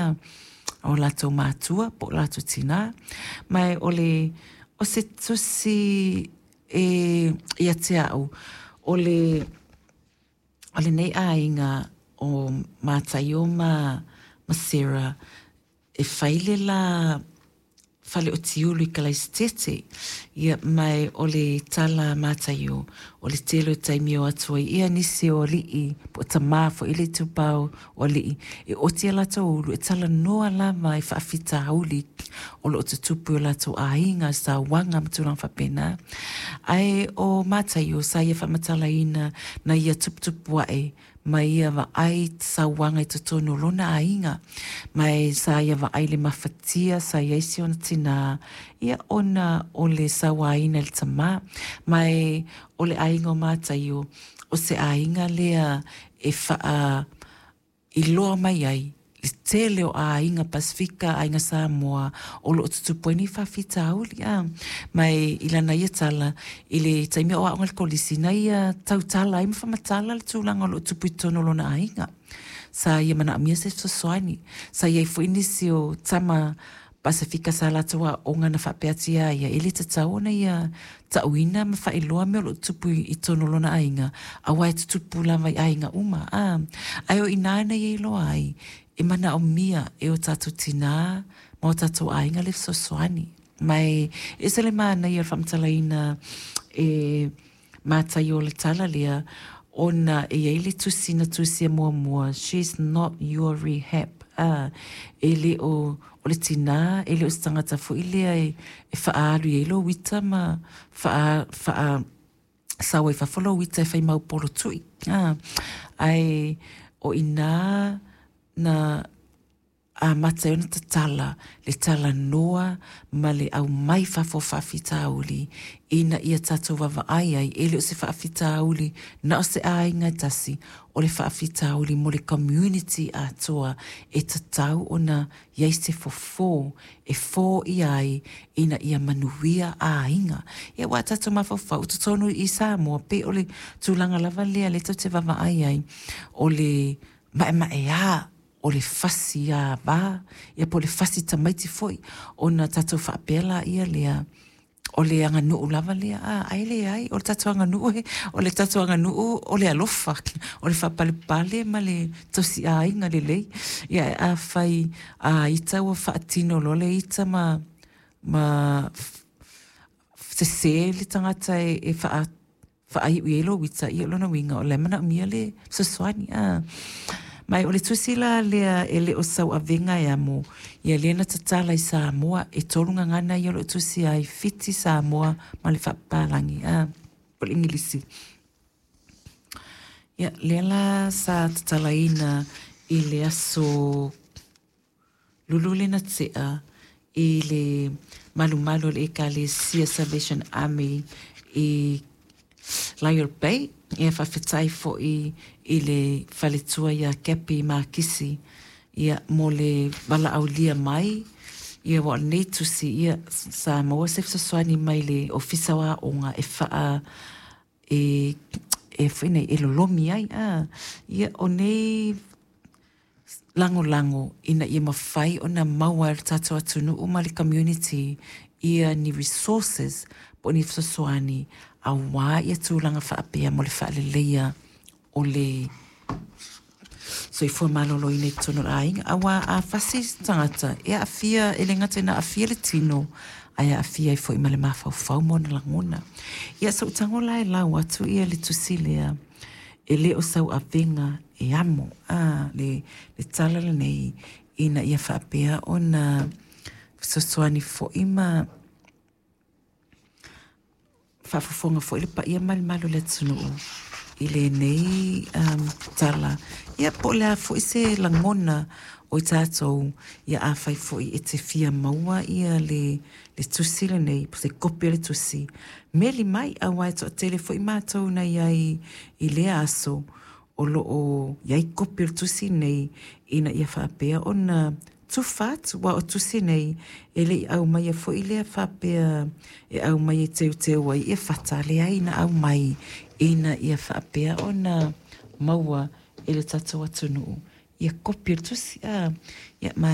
a, o latou matua po o latou tinā. Ma o le, o se tusi e ia te a'u, o le, o lenei aiga o Mataio ma Sarah, e fai le la fale o Tiulu i Kalaisitete. Ia, ma o le tala a Mataio, o le tele o taimi e o atu ai ia nisi o alii, po o tamā foi le itupa o alii, e oti a latou ulu, e talanoa lava i faafitauli o lo o tutupu i o latou aiga, sauaga ma tulaga faapena. Ae o Mataio, sa ia faamatalaina na ia tuputupu ae ma ia vaai sauaga i totonu o lona aiga, ma e sa ia vaai le mafatia sa i ai si ona tinā, ia ona o le sauaina e le tamā. Ma e o le aiga o Mataio, o se aiga lea e faa iloa mai ai le tele o aiga Pasefika, aiga Samoa o lo o tutupu ai nei faafitauli. A ma e i lana ia tala i le taimi o aoga i le kolisi, na ia tautala ai ma faamatala le tulaga o lo o tupu i totonu o lona aiga. Sa ia manaomia se fesoasoani. Sa i ai foi nisi o tama Pasefika sa latou aoga na faapea atu iā ia, e le tatau ona ia ta'uina ma faailoa mea o lo o tupu i totonu o lona aiga, aua e tutupu lava i aiga uma. A, ae o i inā na ia iloa ai, e manaomia e o tatou tinā ma o tatou aiga le fesoasoani. Ma e ese le manaia o le faamatalaina e Mataio o le tala lea, ona e i ai le tusi na tusia muamua, she's not your rehab, a, e le o, o le tinā, e le o se tagata foi lea e, e faaalu i ai lou ita ma faa, faa sao ai fafo lou ita e fai mau polo tui, a, ae o i inā na amata ai ona tatala le talanoa ma le aumai fafo o faafitauli ina ia tatou vaavaai ai, e le o se faafitauli na o se aiga e tasi, o le faafitauli mo le community atoa e tatau ona i ai se fofo e foia ai ina ia manuia aiga. Ia aua a tatou mafaufau, o totonu i Samoa, pei o le tulaga lava lea lea tatou te vaavaai ai, o le maemaea o le fasi ava, ia po o le fasi tamaiti foi, ona tatou faapea laia lea, o le aganuu lava lea, a, ae leai, o le tatou aganuu, o le tatou aganuu o le alofa, o le faapalepale ma le tausiaiga lelei. Ia, ae afai a ita ua faatino loa le ita ma, ma sese le tagata e, e faa faaiu i ai lou ita, ia o lona uiga o la e manaomia le fesoasoani. A. Ma o le tusi la lea e le o sau avega e amo, ia lea na tatala i Samoa, e tolu gagana ia o lo o tusia ai, Fiti, Samoa ma le Faapapalagi, a, po o le Igilisi. Ia, lea la sa tatalaina i le aso Lulu lena tea i le malumalu o le Ekalesia Salvation Army i Lyall Bay. Ia faafetai foi i le faletua ia Cappy Makisi ia mo le valaaulia mai ia aua o lenei tusi ia sa maua se fesoasoani mai le Ofisa o Aoga e faa e e foi nei e lolomi ai a ia o nei lagolago ina ia mafai ona maua e le tatou atunuu ma le community ia ni resources po o ni fesoasoani aua ia tulaga faapea mo le faaleleia o le soifua maloloina i totonu o le aiga. Aua a fasi se tagata, e aafia, e le gata ina aafia le tino, ae aafia ai foi ma le mafaufau ma ona lagona. Ia, so'u tago la e lau atu ia le tusi lea, e le o sau avega e amo, a, le, le tala lenei, ina ia faapea ona fesoasoani foi ma faafofoga foi le paia ma le mamalu o le atunuu i lenei um, tala. Ia, po o le a foi se lagona o i tatou, ia afai foi e te fia maua ia le, le tusi lenei, po se kopi o le tusi, meli mai, aua e toatele foi matou na i ai i lea aso, o lo o i ai kopi o le tusi lenei, ina ia faapea ona tufa atu, aua o tusi nei, e le i aumaia foi lea faapea e aumai e teuteu ai ia fata, leai na aumai ina ia faapea ona maua e le tatou atunuu ia kopi o le tusi. A, ia, ma.